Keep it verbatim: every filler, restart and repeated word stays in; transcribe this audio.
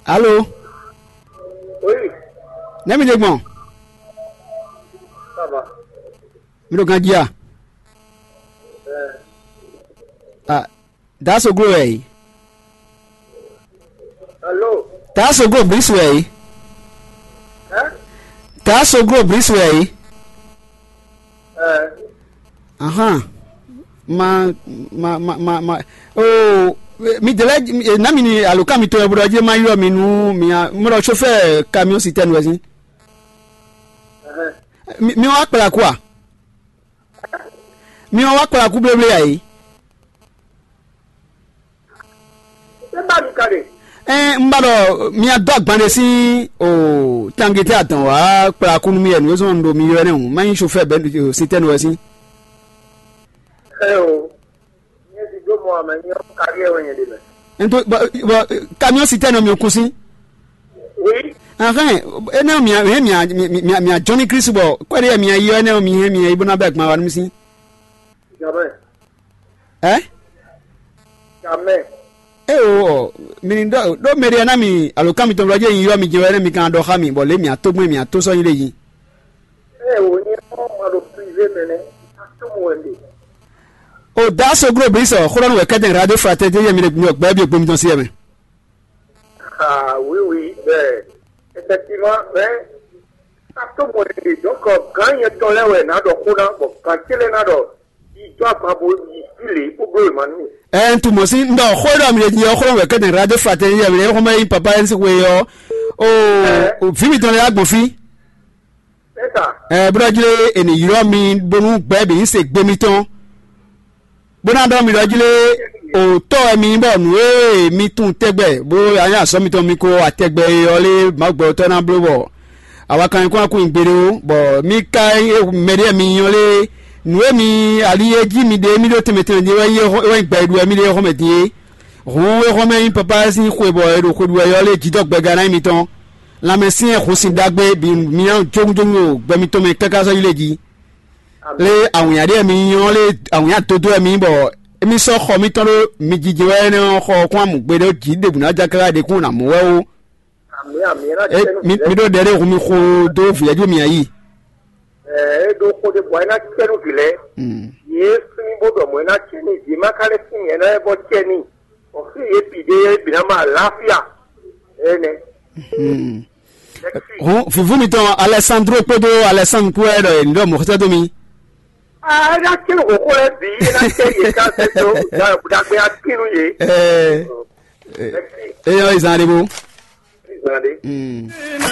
Alo, Oui, nɛ̌ mi ɖe gbɔn? Ça va. Mi ɖo ganjí a? Ah, Daasoglo wɛ yi. Alo. Daasoglo Brice wɛ yi. Hein? Daasoglo Brice wɛ yi. Eh. Ahan. Ma ma ma ma ma. Oh, mi de lɛ, na mi ni alokan mi to ɛ bro je ma yɔ mi nu mi a mo lɔ chauffeur camion citerne wɛ sin. Eh. Mi mi wa kpla quoi? Mi wa kpla ku bleble ayi. Ɛ, un ba ɖɔ mia dó agban ɖé sín o tangete adɔn wá kplá kú nú mì wɛ nǔ e zɔn ɖo mi ylɔ́ nɛ́ hǔn, má nyí sofɛ́ bɛ́ sitɛ́nu wɛ sín. Ɛ o, nyɛ si dó mɔ amɛ nyɛ ɔ́, kaɖiɛ wɛ nyɛ ɖe mɛ. Ento bɔ bɔ kamiɔn sitɛ́nu mi kún sín. Oui. Ahɛn, énɛ́ mia hɛn mia mia mia jɔn ní Kristu bɔ kɔ́ɖi mia yi ɔ́, énɛ́ mi hɛn mia yi bó ná bɛ́ agban wa nú mì sín. Jamais. Ɛ? Jamɛ. Eo ɔ, mi ni ɖɔ ɖó mɛɖé ná mi alo kan mitɔn blɔ́ jɛ nyi ylɔ́ mi jɛ wɛ nɛ mi kan ɖɔ xá mi bɔ lě mi atógbɛn mi ató sɔ́ nyi ɖe yi. Ɛ o nyɛ ɔ́ ma ɖo privé mɛ nɛ. Ató mo wɛ ɖe. O da soglo bli sɔ xó ɖɔ nú wɛ kɛtɛn radio fraternité yɛ mi ɖe gbɛ bi gbomi tɔn si yɛ mɛ. Ah oui oui bɛ effectivement mais ató mo wɛ ɖe donc gán nyɛ tɔn lɛ wɛ ná ɖɔ xó ná bɔ gán télé ná ɖɔ. Yi dó agba bo yi fí lě bó bló yě ma nú. Ɛ n tunwun mɔ̌ sín ɖɔ xó e ɖɔ mi ɖe din ɔ́ xlɔ́ wɛ kɛ́tɛn radio fraternité ɔ́, mɛ e xɔmɛ nyí papa Ernst xwe ɔ́, o vǐ mitɔn lɛ́ɛ wá gbɔn fí. Sɛ́ta. Ɛ bó ɖɔ jlé è nǐ ylɔ́ mi bónú gbɛ̌ bǐ ní se gbe mitɔn, bó ná ɖɔ mi ɖɔ jlé o tɔ́ wɛ mi nyí bɔ nǔ e mi tunwun tɛgbɛ bó anyí azɔ̌ mitɔn mi ko atɛgbɛ e ɔ́ lé Mawu gbɛtɔ́ ná bló bɔ awa kan nyí kɔn nyi gbeɖé ó, bɔ mi ka mɛɖé mi nyɔ lé nǔ e mi ali e jí mi ɖe mi ɖo tɛnmɛ tɛnmɛ ɖe wɛ nyí wɛ nyí gbɛ e ɖu wɛ mi ɖe xɔmɛ din é. Hǔn é xɔmɛ nyí papa sín xwe bɔ è ɖo xwe ɖu wɛ ɔ́ lé jǐdɔ́gbɛga ná nyí mitɔn. Lanmɛ syɛ́n hun sin ɖagbe bǐ mi nyɔ jógúnjógún ɖo gbɛ mitɔn mɛ káká sɔ́ yi lé jí. Lé awǐnnya ɖé mi nyɔ lé awǐnnya dodó wɛ mi nyí bɔ émí sɔ́ xɔ mitɔn ɖó mi jijɛ wɛ énɛ́ ɔ́ xɔ kún amǔ gbe ɖó jǐ ɖěbǔ ná ja káká ɖe kún nǎ mɔ wɛ ó. Amǐ amǐ é ná E, tɛ́ nú mi, vǐ lɛ́ɛ. Mi ɖó ɖɛ ɖé hun mi xo dó vǐyɛ́jú mi ayí. Ɛɛ é ɖó xó ɖé bɔ é ná tɛ́ nú vǐ lɛ́ɛ. Mm. Yě flín bó ɖɔ mɔ̌ é ná tɛ́ nú vǐ má ka lɛ́ sín nyɛ ná é bɔ tɛ́ n'i. Bɔ xí yě bǐ ɖé é bǐ ná má àlàáfíà. Énɛ́. Mm. Lɛ́ sí. Hun vǐvú mitɔn Alessandro kpódó Alessandro kpó wɛ ɖɔ yě ní ɖɔ mɔ̌ xɛtɛ́ dó mi. A é ná tɛ́ nú xóxó lɛ́ɛ bǐ é ná tɛ́ yě ká sɛ́ dó ɖagbe akín nú yě. Ɛɛ, Lɛ́ sí. Eyɔ izan ɖé bó. Zan ɖé. Mm.